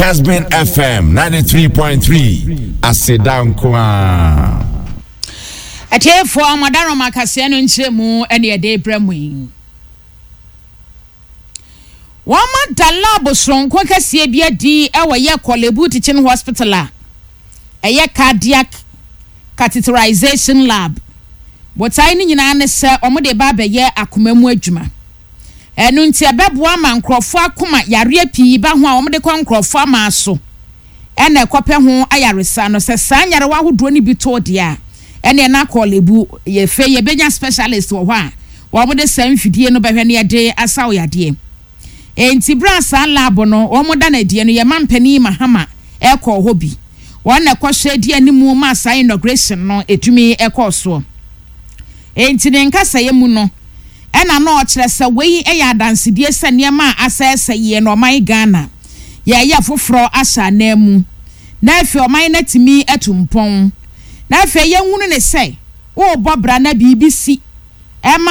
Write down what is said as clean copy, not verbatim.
Casbin FM 93.3 aseda nko ara. Atiefoɔ, mo adarom akaseɛ no nkyerɛmu ne yɛde rebrɛ mo yi. Wɔada lab soronko kɛseɛ bi adi wɔ yɛ Korle-Bu Teaching Hospital a ɛyɛ Cardiac Catheterization Lab. Botae no nyinaa ne sɛ wɔde reba abɛyɛ akoma mu adwuma. Ɛno nti ɛbɛboa ma nkurɔfoɔ akoma yareɛ pii ba ho a wɔde kɔ nkurɔfoɔ amaa so na ɛkɔpɛ ho ayaresa no. Sɛ saa nyarewa ahodoɔ no bi to wo deɛ a, ɛneɛ na Korle-Bu yɛfei yɛbɛnya specialist wɔ hɔ a wɔde saa mfidie no bɛhwɛ na yɛde asa wo yadeɛ. Enti berɛ a saa lab no wɔda no adie no, yɛn mampanin Mahama kɔɔ hɔ bi. Wɔn na ɛkɔhwɛ di animu maa saa inauguration no ɛtumi kɔɔ soɔ. Enti ne nkasɛeɛ mu no, ɛna na ɔkyerɛ sɛ wei yɛ adansedie sɛ nneɛma a asɛesɛe yɛn ɔman Ghana, yɛreyɛ foforɔ ahyɛ ananmu, na afei ɔman no atumi atu mpɔn. Na afei yɛnhunu ne sɛ worebɔ bra na biribi si, ɛma.